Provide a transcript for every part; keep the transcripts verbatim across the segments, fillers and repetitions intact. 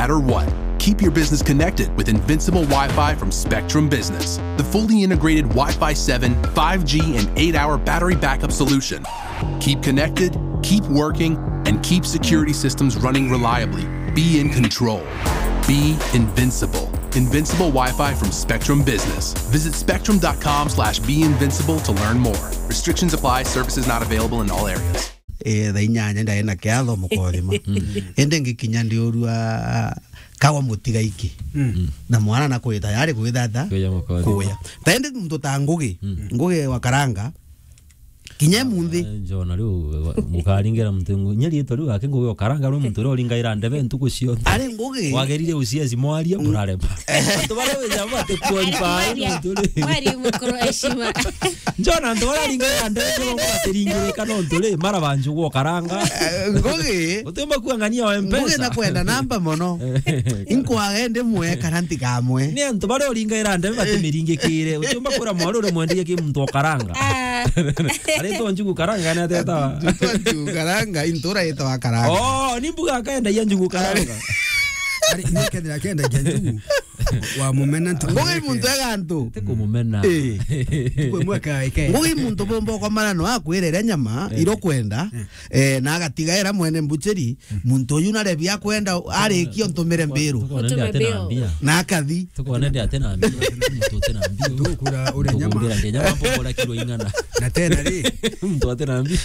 matter what. Keep your business connected with Invincible Wi-Fi from Spectrum Business, the fully integrated Wi-Fi seven, five G, and eight-hour battery backup solution. Keep connected, keep working, and keep security systems running reliably. Be in control. Be invincible. Invincible Wi-Fi from Spectrum Business. Visit spectrum dot com slash be invincible to learn more. Restrictions apply. Services not available in all areas. Eh, thaa inyanya ndae na kiatho mukothima. Ende ngikinya ndiurua kawa mutiga iki. Na mwana na kuya tayari kuya thata. Kuya mukothima. Kuya. Taende muntu ta Ngugi. Ngugi wa Karanga. Kinya munthi. Eh, njona riu, mukaringera muntu ngu-, nya riitwa riu gake Ngugi wa Karanga, riu muntu uria uringaira ndebe ntuku cionthe. Ari Ngugi. Wagerire uciaci mwaria, murarema. Antu baria wija bate qualify nontu ri. Mwaria mukuru heshima. Njona antu baria ringaira ndebe, njo batiringirika nontu ri, mara banju gwo Karanga. Eh, Ngugi. Utimba kuangania wa Ngugi Mpesa. Na kwenda namba mono. Inkwaga ende mwe kana ntikamwe. Ni antu baria uringaira ndebe batimiringikire. Utiumba kwira mwaru uria mwenderie ki muntu o Karanga. Ah. Aritwa Njugu Karanga ni ateta. Aritwa Njugu Karanga, intura yetwa Karanga. Oh, ni mbuga akaendagia Njugu Karanga. Ari, ni kethira akenda kia Njugu. Wa mumena ntu. Ngugi muntu ega antu. Ti kumumena. Eh. Kwe mwaka ike. Ngugi muntu bomba kwa marano akwirere nyama, eh, iro kwenda. Eh. Eh, na agatigaira mwene mbucheri, muntu uyu narebi akwenda arikia ntumire mbiru. Tukone ndi ate na mbia. Na akathi. Tukone ndi ate na mbia. Muntu ute na mbia. Tukura ure nyama. Tukugura ndi nyama mpogora kiro ing'ana. Na tena ri. Muntu ate na mbia.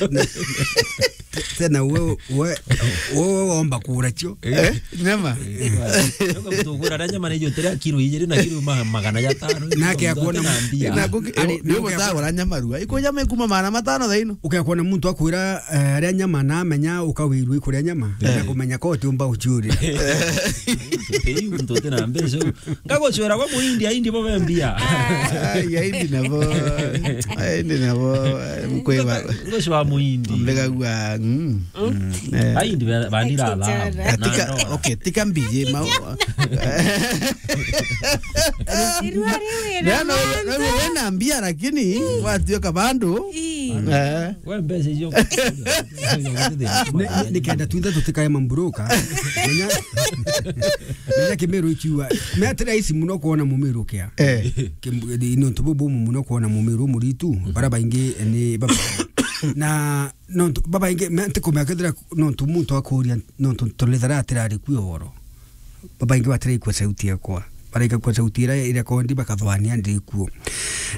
Tena we, we, we, we womba kura cio. Eh? Nyama. Ndio mtu ugura na nyama na hiyo tena kiro ijiri na kiro ma-, magana ya tano. Nake akuona na mbia. Na kuki-, ari, ndio nake gutagura nyama rua. Iko nyama ikuma magana matano thaino. Ukekwona muntu akwira, eh, aria nyama na amenya ukawirwa ikuria nyama, eh, na kumenya ko utiumba uciuria. Ei, muntu uti na mbeca. Ngagucwera kwa muindi, aindi bo bembia. Ai, aindi nabo. Aindi nabo, eh, mkwe ba. Ngucwa muindi. Mbega gua, mm. Eh. Aindi ba-, bandira la. Tika, okay, tika mbiji, ma-, Irua riu wina maana. Wina mbia lakini watuika bandu. Ii. Eh. We mbeca icio. Ni, ni, nikenda twinthe tutikae mamburuka. Menya, menya Kimiru ikiuga. Me ati rahisi muno kuona Mumiru kia. Eh. Kim-, ni, ni untu bubu muno kuona Mumiru muritu. Bara baingi ni baba. Na nontu babaingi, me ntikumenya kethira nontu muntu akuria, nontu tulithara atirari kuo uhoro. Babaingi batiraikua sauti yakwa. Baraika kwa sauti ira, ira kondi bakathwania ndi kuo.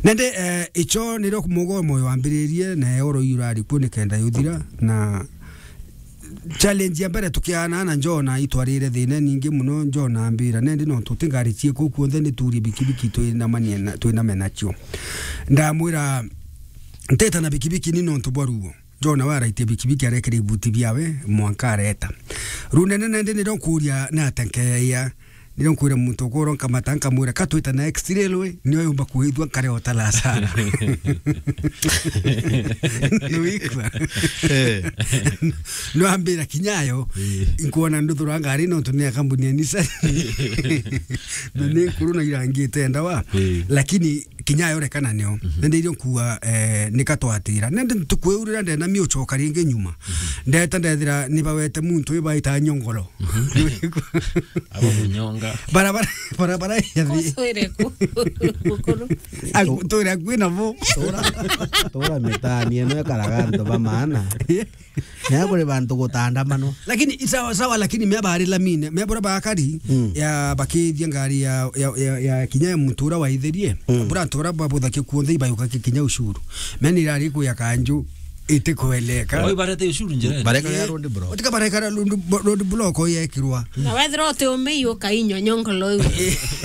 Nende, eh, icho niro mugo moyo wambiririe, na oro iu urari kuo nikenda yuthira, na challenge ya mbere tukiana na Jona itwarire thina ningi muno, Jona ambira, nende nontu tingari cieko kuonthe niturie bikibiki twinamanie na, twiname nacio. Ndamwira, nteta na bikibiki ni nontu bwa ruo. Jona we araitie bikibiki arekere ibuti biawe, mwanka areta. Riu nene nende niro nkuria ni atia nkeeya. Niro nkwira muntu ukoro nkamata nkamwira, "Ka twita na X-ray rwe, nio yumba kuithua nkare o ta Lazaro." Niwikwa? Eh. No ambira kinyayo, eh, nkuona nduthura ngari nontu ni ya kambuni ya Nissan. Na ni nkuru na irangite ndawa. Eh. Lakini kinya yorekana nio. Mhm. Nende irio nkuga, eh, nika twatira. Nende ntuku iu riria ndena mi ucoka ringi nyuma. Mhm. Ndeta ndethira ni bawete muntu ibaita nyongoro. Mhm. Aba munyonga. Barabara, barabara ya thi. Kuswire ku. Mukuru. Aku, twira kwina bo. Tura, tura mitani eno ekaraga antu ba maana. Nea kuri bantu gutandamano. Lakini sawa sawa, lakini mea bari lamine, mea bora bakari, mm, ya bakithia ngari ya, ya, ya, ya kinya ya mutura wa itherie. Mm. Bora antu bara babuthakia kuonthe ibayuka ki-, kinya ushuru. Mea ni irari kuya kanju iti kweleka. Oi, barete ushuru njira. Bareka ya road block. Utika bareka road blo-, road block oyekirwa. Na wethira uti umei ukainywa nyongolo iu.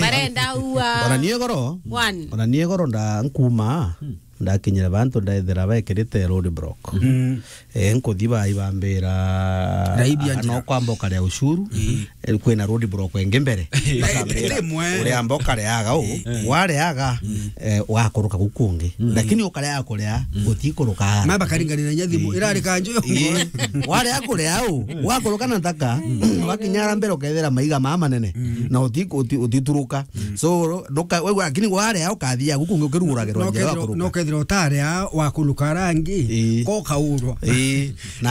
Barenda ua. Ona nie goro. One. Ona nie goro nda nkuma. Hmm. Ndakinyire bantu ndethira bekirite road block. Mm. Eh, nkuthi bai bambira, "Raibi ah, anjira." No kwamba ukaria ushuru. Mm. Eh, kwina road block ingi mbere. Eh, bakambira, rimwe. "Uriamba ukareaga u, eh, wareaga, mm, eh, wakuruka guku kungi. Mm. Lakini ukareaga kurea, mm, utikuruka." Ma bakaringanira nya thimu, eh, irari kanju yo. Eh, warea kurea u, wakuruka na ntaka, mm, wakinyara mbere ukethira maiga maa manene. Mm. Na uti-, uti-, utituruka. Mm. So, nduka-, we, lakini warea ukathiaga guku kungi ukiruguragirwa njira ya kuruka. No kethira utarea wa kuruka rangi, ii, ko kaurwa. Ii. Na